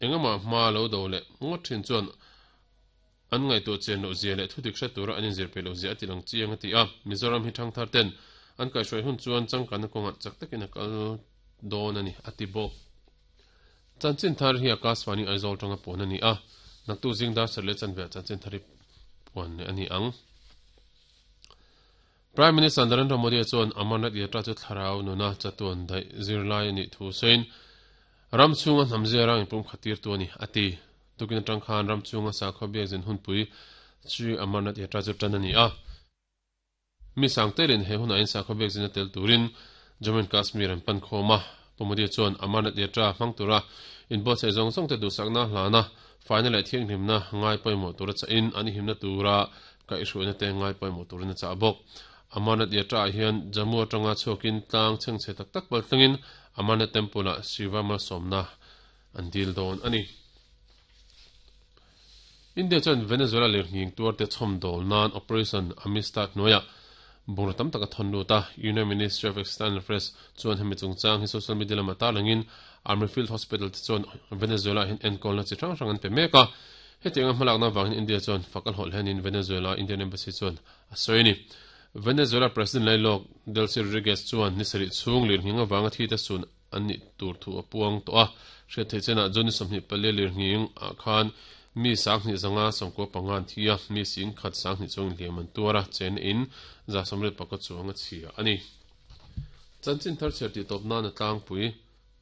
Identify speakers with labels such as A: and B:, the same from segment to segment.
A: Engamaw hma lo do leh ngawt thin chuan an ngaihtuah chian loh zia leh thudik hre tura an inzir peih loh zia a ti lang chiang a ti a. Mizoram hi thangthar ten an kaihhruai hun chuan changkanna kawngah chak takin a kal dawn a ni, a ti bawk. Chanchin thar hi Akashvani Aizawl tanga puan a ni a, naktuk zing dar sarh leh chanveah chanchin thar hi puan leh a ni ang. Prime Minister Narendra Modi chuan Amarnath Yatra chu thlarau nuna chatuan daih zirlai a nih thu sawiin ram chhunga hnam zia rang inpumkhat tirtu a ni, a ti. Tukin atang khan ram chhunga sakhaw biakzin hunpui Shri Amarnath Yatra chu tan a ni a. Mi sang telin he hunah in sakhaw biakzin a tel turin Jammu and Kashmir an pan khawm a. Pu Modi chuan Amarnath Yatra hmang tura inbuatsaih zawng zawng te duhsakna hlana faina leh thianghlimna ngai pawimawh tura chahin an himna tura kaihhruaina te ngai pawimawh turin a chah bawk. Amarnath Yatra ah hian Jammu atanga chhuakin tlang chhengchhe tak tak pal thlengin Amarnath Temple ah Shiva malsawmna an dil dawn a ni. India chuan Venezuela lirnghing tuarte chhawmdawl nan Operation Amistad hnuaiah bungraw tam tak a thawn lut a. Union Ministry of External Affairs chuan hemi chungchang hi social media lamah tarlangin Army Field Hospital te chuan Venezuela ah hian enkawlna chi hrang hrang an pe mek a. Hetianga hmalakna avangin India chuan fak a hlawh hlenin Venezuela Indian Embassy chuan a sawi a ni. Venezuela President lailawk Delcy Rodriguez chuan ni sarih chhung lirnghing avanga thi te sun an nih tur thu a puang tawh a. Hriat theih chenah June 24 lirnghing ah khan mi 2595 an thi a, mi 10,020 chuang inhliam an tuar a, chenna in 180 chuang a chhia a ni. Chanchin thar chhiar tih tawp nan a tlangpui.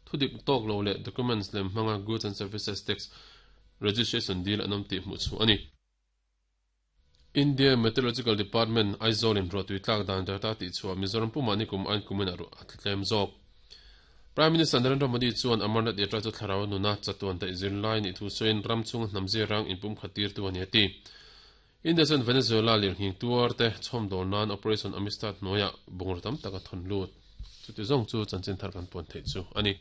A: Thudik tawk lo leh documents lem hmanga Goods and Services Tax Registration deal an awm tih hmuh chhuah a ni. India Meteorological Department, Aizawl in ruahtui tlak dan data tih chhuah Mizoram pumah nikum ain kumin a ruah a tla tlem zawk. Prime Minister Narendra Modi chuan Amarnath Yatra chu thlarau nuna chatuan daih zirlai nih thu sawiin ram chhunga hnam zirang inpumkhat tirtu a ni a ti. India chuan Venezuela lirnghing tuar te chhawmdawl nan Operation Amistad hnuaiah bungraw tam tak a thawn lut. Chuti zawng chu chanchin thar kan puan theih chu a ni.